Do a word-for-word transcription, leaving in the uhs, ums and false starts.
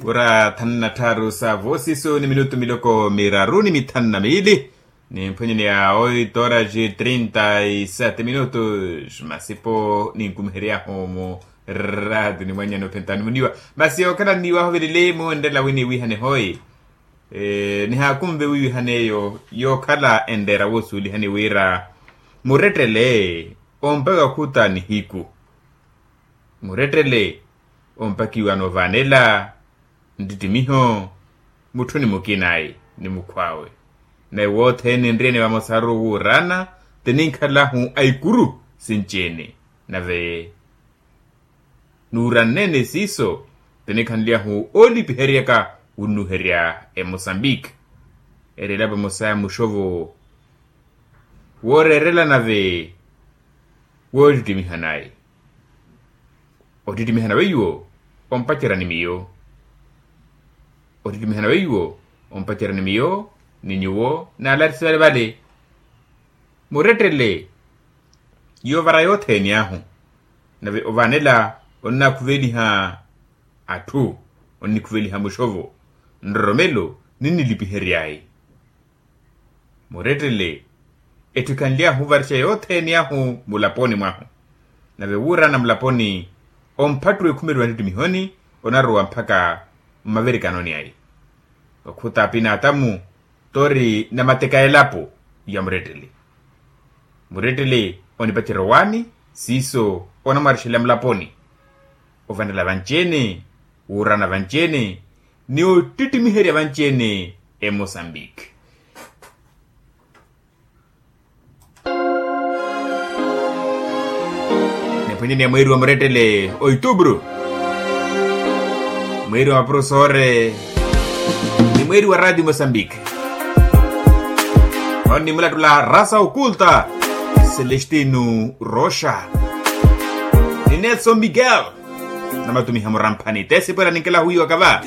Ora thanu na tthaaru sa voosiso ni minutu miloko miraru ni mithanu na miili. Nimphwenyeni ya oito horas e trinta e sete minutos masipo ninkumiheryahu mu raati ni mwannyana ophentani muniwa. Masi okhala nniwahu velele muwenrela winiwihane hoi. Nihaakunve wiwihane eyo yookhala enreera woosuulihani wira murettele ompaka khuta nihiku. Murettele ompakiwa noovaanela nttittimiho mutthuni mukinayi ni mukhw'awe. Naye wothene enriyene vamosaru wuurana tininkhalahu a ikuru sinci-ene. Nave nuuranneene siiso tinikhanly'ahu oolipiheryaka wunnuherya emosambiki. Erela vamosa ya muxovo wooreerela nave woottittimiha naye. Ottittimiha nawe iwo ompacerya ni miyo. Ottittimiha nawe iwo ompacerya ni miyo ni nyuwo naalari sivale vale. Murettele yoovara yothene ahu nave ovaanela onnakhuveliha atthu onnikhuveliha muxovo nroromelo ninnilipihery'ayi. Murettele etthu ekhanly'ahu ovarixa yothene ahu mulaponi mwahu. Nave wuurana mulaponi omphattuwa ekhumeliwa ntittimihoni onarowa mpakha mmaverikanoni ayi. Okhuta apina atamu tori namateka elapo ya murettele. Murettele onipacerya owaani siiso onamwarixela mulaponi. Ovanela vanci-ene wuurana vanci-ene ni ottittimiherya vanci-ene emosambiki. Niphwanyeni ya mweeri wa murettele oitubru mweeri wa maprofesore ni mweeri wa raati mosambiki. Oni mulattula rasa okulta celestino roxa ni nelson miguel. Namatumiha muramphani tesipwela ninkelahu wiiwaka va